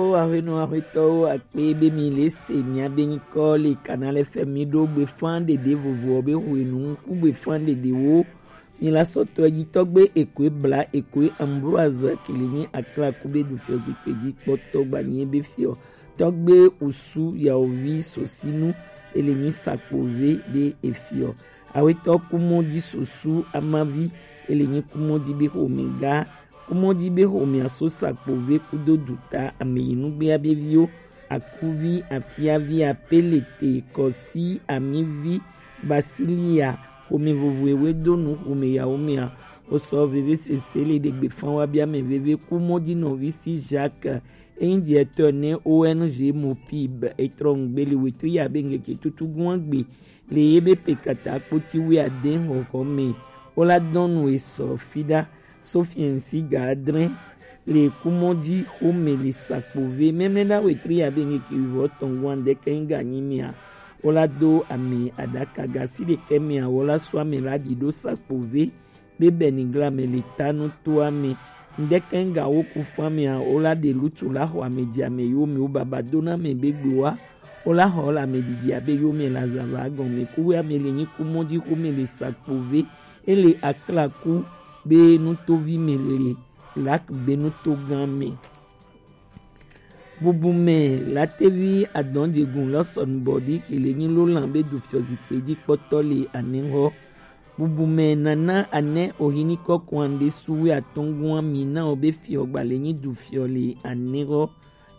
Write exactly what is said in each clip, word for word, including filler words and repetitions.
Aƒenɔ aƒetɔwo akpe be mi le se mia be nyikɔ le Canal F M mi ɖo gbefan ɖeɖe vovowo be hwenu ŋku gbefan ɖeɖewo. Mi la sɔtɔ dzi tɔgbe ekoe bla ekoe Ambroise Kilinyi Aklaku be du fiɔ zikpe dzi kpɔtɔ gbanye be fiɔ tɔgbe usu yaovi sosinu ele nyi sakpove be efiɔ. Awetɔ kumɔdzi susu amavi ele nyi kumɔdzi be xomega. Kumɔdzi be xomea so sakpove kudo duta ameyinugbe abeviwo akuvi afiavi apelete kɔsi amivi basilia xome vovoewe do nu xome yawo mea. Wosɔ veve sese le ɖegbe fan wa bia me veve kumɔdzi nɔvi si Jacques eyin diɛtɔ ne O N G Mopib etrɔ ŋgbe le wetri ya be ŋgeke tutu gua gbe le ye be pe kata kpoti wi ade xɔxɔ me. Wola dɔnu esɔ fida sofiɛnsi ga adre le kumɔdzi xome le sakpove mɛmɛ na wetri ya be ŋgeke wivɔ tɔn gua ŋdɛkɛ ŋga nyi mea. Wola do ame aɖaka gasi ɖekɛ mea wola sɔ ame la ɖi ɖo sakpove be bɛni gla me le ta nu to ame. Ŋdɛkɛ ŋga wo ku fan mea wola ɖe lutu la xɔ ame dzi ame yo me wo baba do na me be gbe wa. Wola xɔ la me ɖiɖi abe yo me la zava gɔme kuwe ame le nyi kumɔdzi xome le sakpove ele aklaku be nutovi me le lak be nuto gã me. Bubumɛ latevi adɔnjegun lɔsɔnubɔdi kele nyi lolan be du fiɔ zikpe dzi kpɔtɔ le anɛxɔ. Bubumɛ nana anɛ ohinikɔ kɔande suwe atɔngua mi na o be fiɔ gbale nyi du fiɔ le anɛxɔ.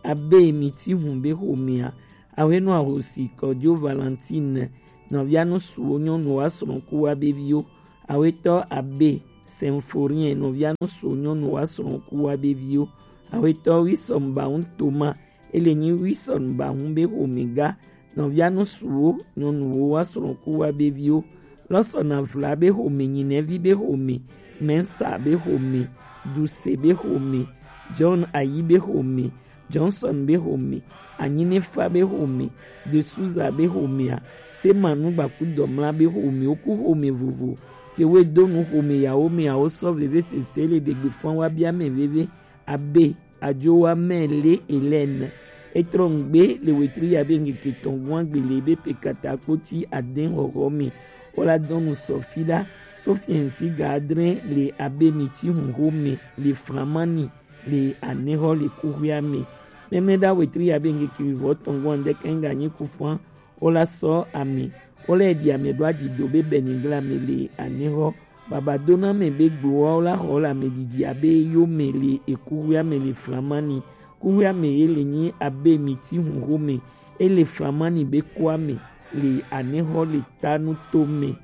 Abe mi ti hun be xomea, awenɔ ahosi kɔjo Valentine nɔvia nusuwo nyɔnuwo asrɔ̃kuwo abe viwo. Awetɔ abe Symphorien nɔvia nusuwo nyɔnuwo asrɔ̃kuwo abe viwo. Awetɔ Wilson Bahun Thomas ele nyi Wilson Bahun be xomega nɔvia nusuwo nyɔnuwo asrɔ̃kuwo abe viwo. Lɔsɔna vla be xome nyinɛvi be xome Mensa be xome Duse be xome John Ayi be xome Johnson be xome, Anyinefa be xome, De Souza be xomea, Semanu Gbakudɔmla be xome, woku xome vovo, ke we do nu xome yawo mea wo sɔ veve sese le ɖegbe fɔn wa bia mɛ veve, abe ajowa mɛ le Hélène. Etrɔ ŋgbe le wetri ya be ŋkeke tɔn gua gbe le be pe kata kpoti adɛn xɔxɔ me. Wola dɔnu sɔfi ɖa, sɔfi ɛnsi ga adre le abe miti hun xome le Flamani le anexɔ le kuxia me. Mɛmlɛɖa wetri ya be ŋkeke wivɔ tɔn gɔn ŋdɛkɛ ŋga nyi kufan. Wola sɔ ame, wola eɖi ame ɖo aɖi do be bɛnigla me le anexɔ. Baba dona me be gbowa wola xɔ le ame ɖiɖi abe yo me le ekuxia me le Flamani. Kuxia me ye le nyi abe miti hun xome. Ele Flamani be kua me le anexɔ le tanu to me.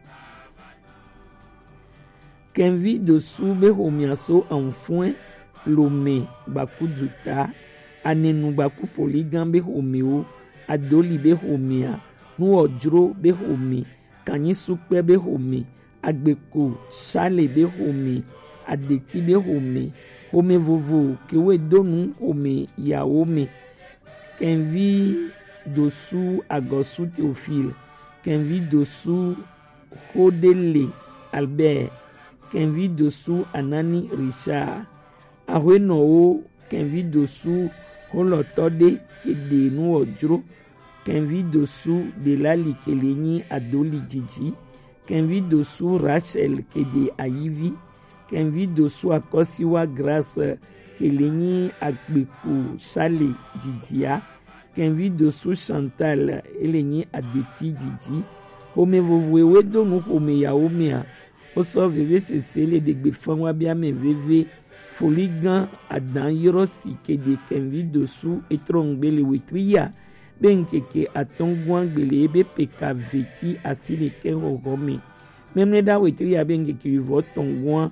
Kɛnvi dosu be xomea so anfuɛ lome gbaku duta, anenu gbaku foligan be xomewo, adoli be xomea, nuwɔdzro be xome, kanyi sukpɛ be xome, agbeko sale be xome, adeti be xome, xome vovo kewe donu xome yawo me. Kɛnvi dosu agɔsu Théophile, kɛnvi dosu Xodele Albert, kɛnvi dosu Anani Richard, axwenɔwo kɛnvi dosu xolɔtɔ ɖe keɖe nuwɔdzro, kɛnvi dosu Delali kele nyi adoli didi, kɛnvi dosu Rachel keɖe ayivi, kɛnvi dosu akɔsiwa Grâce kele nyi agbeku sale didia, kɛnvi dosu Chantal ele nyi adeti didi. Xome vovoe we do nu xome yawo mea, wosɔ veve sese le ɖegbe fɛn wa bia mɛ veve. Foligan adan yrɔ si keɖe kɛnvi dosu etrɔ ŋgbe le wetri ya be ŋkeke atɔn gua gbe le ebe peka veti asi ɖekɛ xɔxɔ me. Mɛmlɛɖa wetri ya be ŋkeke wivɔ tɔn gua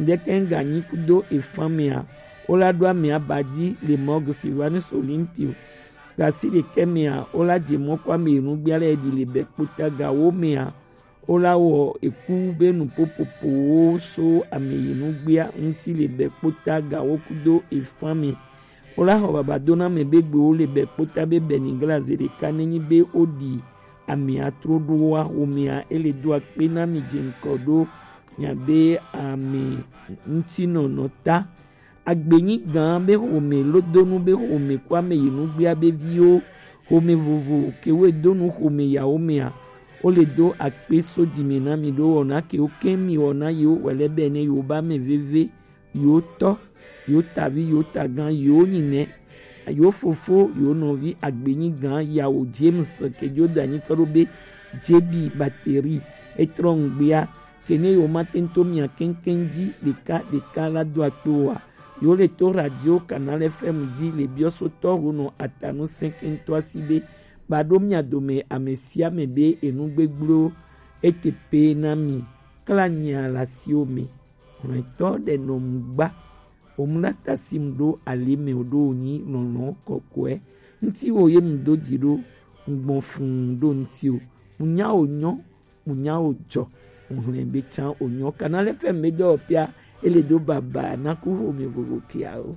ŋdɛkɛ ŋga nyi kudo efan mea, wola ɖo ame aba dzi le mɔg Silvanus Olympio. Gasi ɖekɛ mea, wola dze mɔ kɔ ame yi nugbia le ɖi le bɛ kpota gawo mea, wola wɔ eku be nu popopowo so ame yi nugbia ŋuti le bɛ kpota gawo kudo efan me. Wola xɔ baba dona me be gbewo le bɛ kpota be bɛnigla ze ɖeka nenyi be woɖi ame atro ɖo wa xomea ele do akpe na mi dze ŋkɔ ɖo miabe ame ŋutinɔnɔ ta. Agbenyi gan be xome lodonu be xome ku ame yi nugbea be viwo, xome vovo ke wo do nu xome yawo mea, wo le do akpe so jime na mi ɖo wɔna ke wo kɛn mi wɔna yewo wɛlɛ bɛ ne yewo ba mɛ veve, yewo tɔ, yewo tavi, yewo tagan, yewo nyinɛ, yewo fofo, yewo nɔvi Agbenyi gan yawo James ke jo da nyi kɔ ɖo be J B batterie etrɔ ŋgbea ke ne yewo ma tento mia kɛnkɛn ji ɖeka ɖeka la do akpe wa. Yewo le to radio Canal F M ji le biɔsotɔ wo nɔ atanu sɛnkɛntɔ asi be ba ɖo mia dome ame sia ame be enu gbegblẽwo ete pe na mi. Kla nyia le asiwo me. Hlɔ̃tɔ ɖe nɔ mu gba. Omlata si mu ɖo ali me o ɖo wònyi lɔlɔ̃ kɔkɔe. Ŋutiwo ye mu do dzi ɖo, ŋgbɔn fũu ɖo ŋutiwo. Mu nya wò nyɔ, mu nya wò dzɔ. Ŋhlɛ be tsã wò nyɔ. Canal F M be dɔ pia, ele do baba na ku xome vovo kiawo.